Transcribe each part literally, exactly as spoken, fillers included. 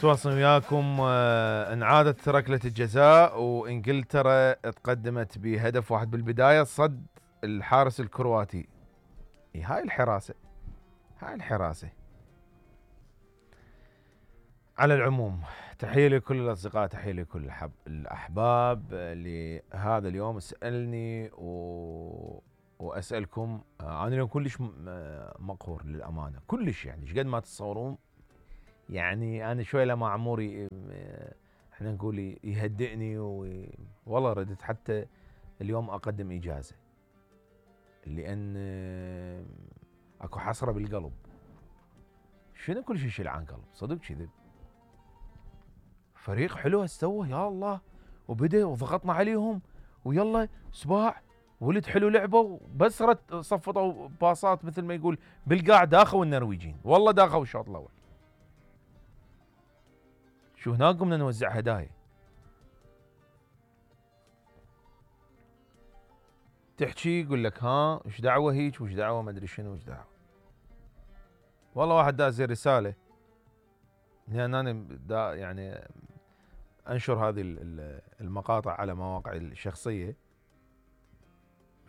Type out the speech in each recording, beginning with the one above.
تواصل وياكم. آه، انعادت ركلة الجزاء وانجلترا تقدمت بهدف واحد بالبداية صد الحارس الكرواتي. هاي الحراسة هاي الحراسة. على العموم تحية لكل الأصدقاء، تحية لكل الحب الأحباب لهذا اليوم. اسألني و... وأسألكم. أنا اليوم كلش مقهور للأمانة، كلش يعني ايش قد ما تتصورون. يعني أنا شوي لما عموري احنا نقول يهدئني و... والله ردت حتى اليوم أقدم إجازة، لأن أكو حسرة بالقلب. شنو كل شيء يشيل عن قلب صدق كذب. فريق حلو استوى يا الله، وبدأ وضغطنا عليهم ويلا سباع ولد حلو لعبوا، بس رت صفطوا باصات مثل ما يقول بالقاع داخوا النرويجين، والله داخوا الشوط الاول. شو هناك قمنا نوزع هدايا. تحكي يقول لك ها ايش دعوه هيك وايش دعوه ما ادري شنو ايش دعوه. والله واحد داز رساله لان انا دا يعني انشر هذه المقاطع على مواقعي الشخصيه.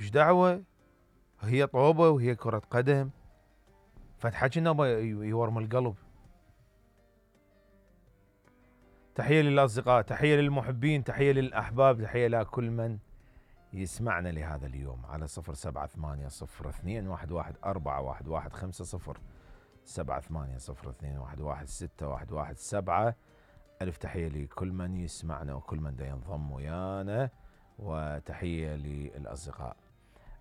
ايش دعوه هي طوبه وهي كره قدم، فتحكي انه يورم القلب. تحيه للاصدقاء، تحيه للمحبين، تحيه للاحباب، تحيه لكل من يسمعنا لهذا اليوم على صفر سبعة ثمانية صفر اثنين واحد واحد أربعة واحد واحد خمسة صفر سبعة ثمانية صفر اثنين واحد واحد ستة واحد واحد سبعة. ألف تحية لكل من يسمعنا وكل من دا ينضم ويانا، وتحية للأصدقاء.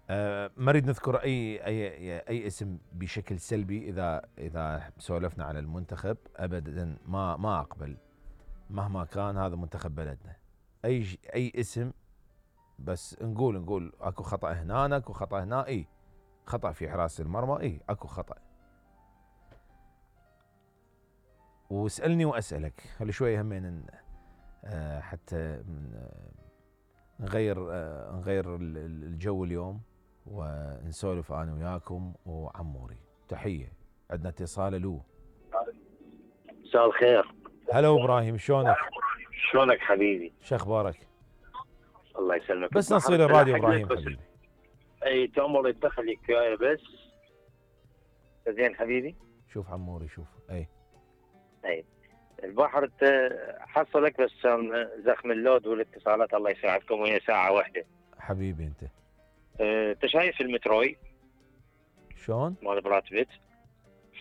أه ما نريد نذكر أي أي أي اسم بشكل سلبي إذا إذا سولفنا على المنتخب أبدا. ما ما أقبل مهما كان هذا منتخب بلدنا. أي أي اسم بس نقول نقول اكو خطأ هنا اكو خطأ هنا. اي خطأ في حراسة المرمى، اي اكو خطأ. واسألني واسألك خلي شوية همين آه حتى نغير آه نغير الجو اليوم ونسولف انا وياكم وعموري. تحية. عندنا اتصال. له مساء الخير. هلا ابراهيم، شلونك؟ شلونك حبيبي؟ شو اخبارك؟ الله يسلمك. بس نصير الراديو ابراهيم حبيبي. اي تأمر يدخل وياي بس. زين حبيبي. شوف عموري شوف. اي اي البحر حصلك بس زخم اللود والاتصالات الله يساعدكم، وهي ساعة واحدة حبيبي. انت انت أه شايف المتروي شلون؟ مال براد بيت.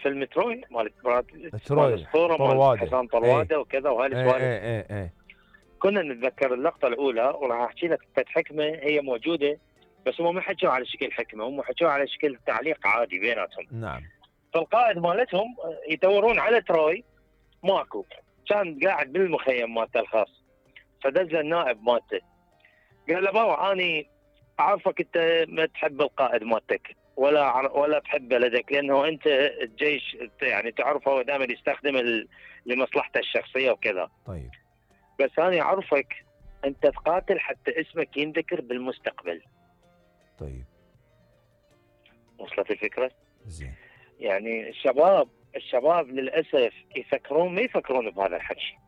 في المتروي مال براد بيت التروي طرواده حسام طرواده وكذا وهاي السوالف. اي اي اي كنا نتذكر اللقطة الأولى وراح أحكي لك فت حكمة هي موجودة، بس هم ما حكوا على شكل حكمة، هم حكوا على شكل تعليق عادي بيناتهم. نعم. فالقائد مالتهم يدورون على تروي ماكو، كان قاعد بالمخيم مالته الخاص. فدز النائب مالته قال له بابا أني أعرفك أنت ما تحب القائد مالتك ولا ولا تحب بلدك، لأنه أنت الجيش يعني تعرفه هو دائما يستخدم لمصلحته الشخصية وكذا. طيب بس أنا أعرفك أنت تقاتل حتى اسمك ينذكر بالمستقبل. طيب وصلت الفكرة؟ زين. يعني الشباب الشباب للأسف يفكرون ما يفكرون بهذا الحكي.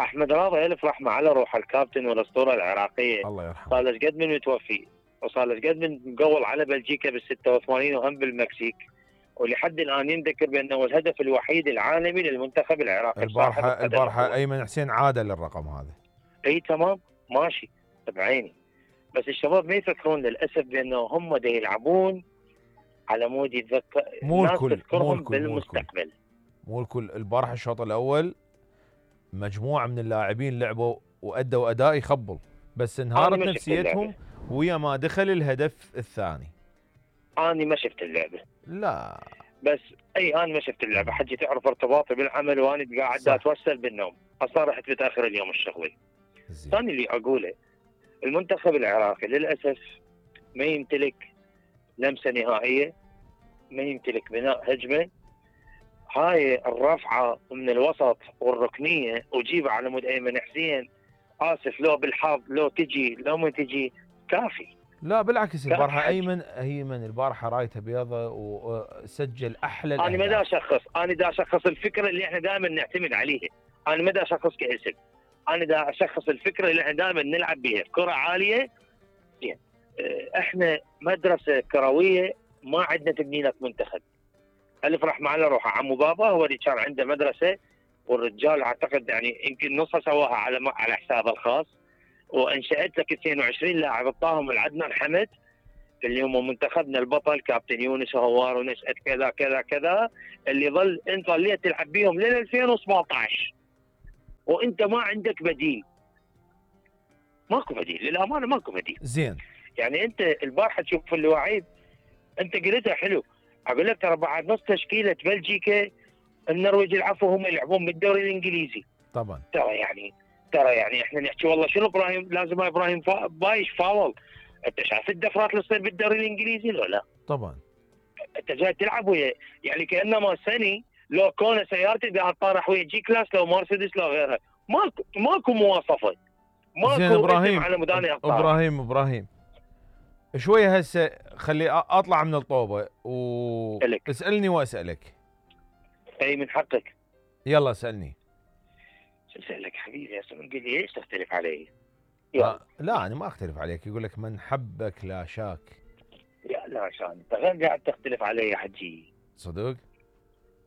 أحمد راضي ألف رحمة على روح الكابتن والأسطورة العراقية، الله يرحمه، صار له قد من متوفي وصار له قد من مقول على بلجيكا بالستة وثمانين وهم بالمكسيك، ولحد الآن ينذكر بأنه الهدف الوحيد العالمي للمنتخب العراقي. البارحة البارحة أيمن حسين عاد للرقم هذا. اي تمام ماشي بعيني، بس الشباب ما يفكرون للأسف بأنه هم دا يلعبون على مود يتذكر مو الكل مو الكل بالمستقبل. مو الكل. البارحة الشوط الأول مجموعة من اللاعبين لعبوا وأدوا أداء يخبل، بس انهارت نفسيتهم ويا ما دخل الهدف الثاني. أنا ما شفت اللعبة. لا بس اي انا ما شفت اللعبه، حجي تعرف ارتباطي بالعمل وانا قاعد اتوسل بالنوم، اصلا رحت متاخر اليوم الشغلي. ثاني اللي اقوله المنتخب العراقي للاسف ما يمتلك لمسه نهائيه، ما يمتلك بناء هجمه. هاي الرفعه من الوسط والركنيه وجيبها على مود ايمن حسين، اسف لو بالحظ لو تجي لو ما تجي كافي. لا بالعكس البارحه ايمن ايمن البارحه رايته بيضه وسجل احلى انا ما دا اشخص انا دا اشخص الفكره اللي احنا دائما نعتمد عليها. انا ما دا اشخص كاسم، انا دا اشخص الفكره اللي احنا دائما نلعب بها كره عاليه. زين احنا مدرسه كرويه ما عندنا تبني لك منتخب. الف رحمه على روحه عمو بابا هو اللي كان عنده مدرسه، والرجال اعتقد يعني يمكن نصها سواها على على حسابه الخاص، وانشات لك اثنين وعشرين لاعب اعطاهم العدنان حمد اللي هم منتخبنا البطل كابتن يونس هوار ونشأة كذا كذا كذا، اللي ظل انت ظليت تلعب بيهم لين ألفين وسبعطعش وانت ما عندك بديل. ماكو بديل للامانه، ماكو بديل. زين يعني انت البارحه تشوف اللواعيب انت قلتها حلو، اقول لك ترى بعد نص تشكيله بلجيكا النرويج العفو هم يلعبون بالدوري الانجليزي. طبعا ترى يعني ترى يعني احنا نحكي والله شنو ابراهيم لازم ابراهيم فا... بايش فاول. انت شايف الدفرات اللي تصير بالدوري الانجليزي ولا لا؟ طبعا انت جاي تلعب ويا يعني كانما سني لو كون سيارتي قاعد طارح ويا جي كلاس لو مرسيدس لو غيرها، ماكو ماكو مواصفه، ماكو زين ابراهيم على مداني ابراهيم ابراهيم شويه هسه خلي اطلع من الطوبه واسالني واسالك. اي من حقك. يلا اسالني. شو اسالك حبيبي؟ هسه قل لي ايش تختلف علي؟ آه لا انا ما اختلف عليك، يقول لك من حبك لا شاك. يا لا عشان انت غير قاعد تختلف علي يا حجي. صدق؟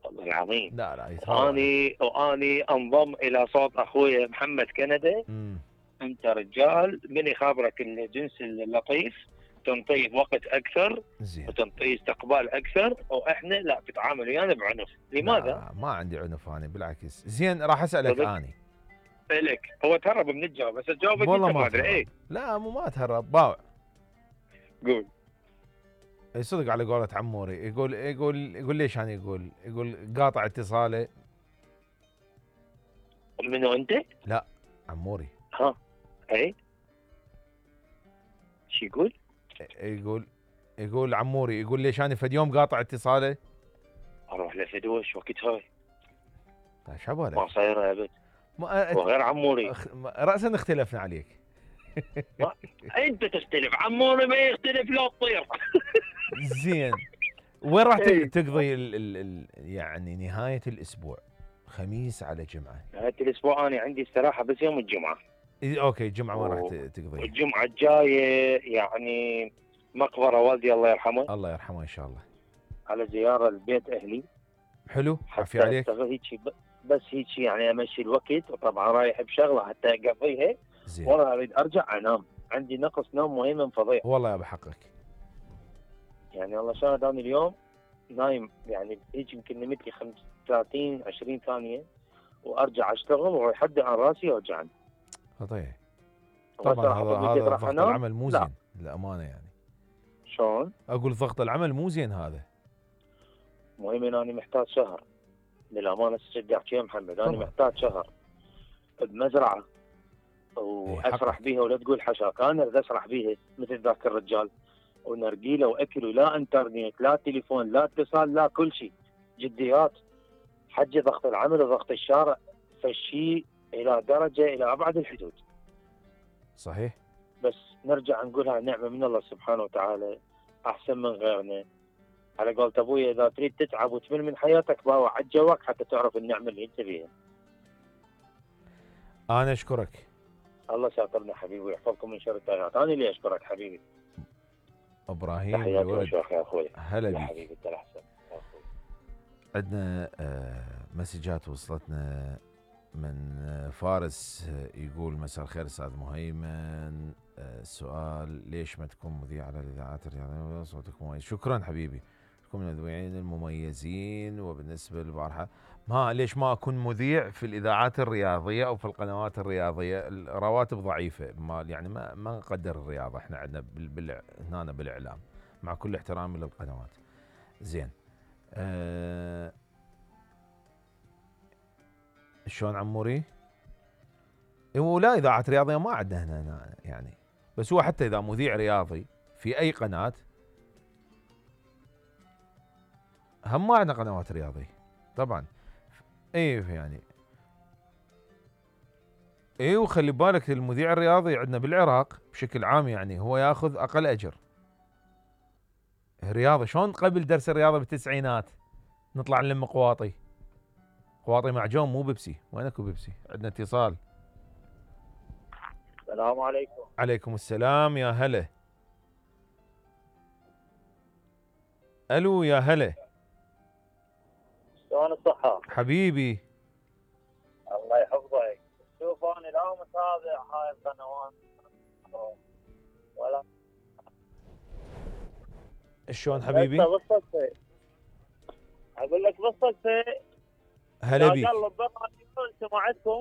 والله العظيم. لا لا يتهاوى. واني واني انضم الى صوت اخوي محمد كندا. امم انت رجال من يخابرك الجنس اللطيف تنطيه وقت اكثر. زين. وتنطيه استقبال اكثر، واحنا لا تتعامل ويانا بعنف. لماذا؟ لا ما عندي عنف انا بالعكس. زين راح اسالك اني. لك هو تهرب من الجواب بس تجاوبك والله انت ما ما ادري. ايه لا مو ما تهرب باوع. قول. اي صدق على قولة عموري، يقول يقول يقول ليش انا يقول يقول قاطع اتصاله. منو انت؟ لا عموري. ها اي شو يقول؟ يقول يقول عموري يقول ليش انا فد يوم قاطع اتصاله. اروح لفدوش وقت هاي. طيب شو بالك؟ ما صايره ابد. ما وغير عموري أخ... راسا اختلفنا عليك. انت تختلف، عموري ما يختلف لو تطير. زين وين راح تقضي ال ال ال يعني نهايه الاسبوع؟ خميس على جمعه. نهايه الاسبوع انا عندي استراحه بس يوم الجمعه. إيه اوكي الجمعه وين راح تقضي؟ الجمعه الجايه يعني مقبره والدي الله يرحمه. الله يرحمه ان شاء الله. على زياره لبيت اهلي. حلو عافيه عليك. هيك بس هيك يعني امشي الوقت، وطبعا رايح بشغله حتى اقضيها. زين. والله اريد ارجع انام، عندي نقص نوم مهم فظيع. والله يا بحقك. يعني والله شاهد انا اليوم نايم يعني هيك يمكن نمت لي خمسة وثلاثين عشرين ثانيه وارجع اشتغل ولحد عن راسي اوجعني. طيب طبعا هذا هذا ضغط العمل مو زين للامانه يعني. شلون؟ اقول ضغط العمل مو زين هذا. مهم ان انا محتاج شهر للامانه تشجع يا محمد. انا محتاج شهر بمزرعه واسرح بيها ولا تقول حشاك. انا اريد اسرح بيها مثل ذاك الرجال، ونرجيله واكل ولا انترنت لا تليفون لا اتصال لا كل شيء. جديات حجي ضغط العمل وضغط الشارع فالشيء الى درجه الى ابعد الحدود. صحيح. بس نرجع نقولها نعمه من الله سبحانه وتعالى احسن من غيرنا. على قولة ابوي اذا تريد تتعب وتمل من حياتك باوع على جواك حتى تعرف النعمه اللي انت بيها. انا اشكرك. الله ساترنا حبيبي ويحفظكم من شر التغيرات. انا اللي اشكرك حبيبي. ابراهيم تحياتي وشوخ يا اخوي. هلا بك حبيبي انت الاحسن. عندنا مسجات وصلتنا من فارس يقول مساء الخير استاذ مهيمن، السؤال ليش ما تكون مذيع على الاذاعات الرياضيه صوتك مميز؟ شكرا حبيبي، تكون من المذيعين المميزين. وبالنسبه للبارحه ما ليش ما اكون مذيع في الاذاعات الرياضيه او في القنوات الرياضيه؟ الرواتب ضعيفه، ما يعني ما ما نقدر الرياضه احنا عندنا بال هنا بالاعلام مع كل احترامي للقنوات. زين أه شلون عموري؟ ولا اذاعات رياضيه ما عندنا هنا, هنا يعني، بس هو حتى اذا مذيع رياضي في اي قناه هم ما عندنا قنوات رياضيه طبعا. اي يعني اي وخلي بالك المذيع الرياضي عندنا بالعراق بشكل عام يعني هو ياخذ اقل اجر. الرياضه شلون قبل درس الرياضه بالتسعينات نطلع نلم قواطي قواطي معجون مو بيبسي. وين اكو بيبسي؟ عندنا اتصال. السلام عليكم. عليكم السلام يا هلا. الو يا هلا. شلون الصحة؟ حبيبي. الله يحفظك. شوف انا لا متابع هاي القنوات ولا شلون حبيبي؟ بالصدفة اقول لك بالصدفة هلا بيك. قلب برنامج سمعتكم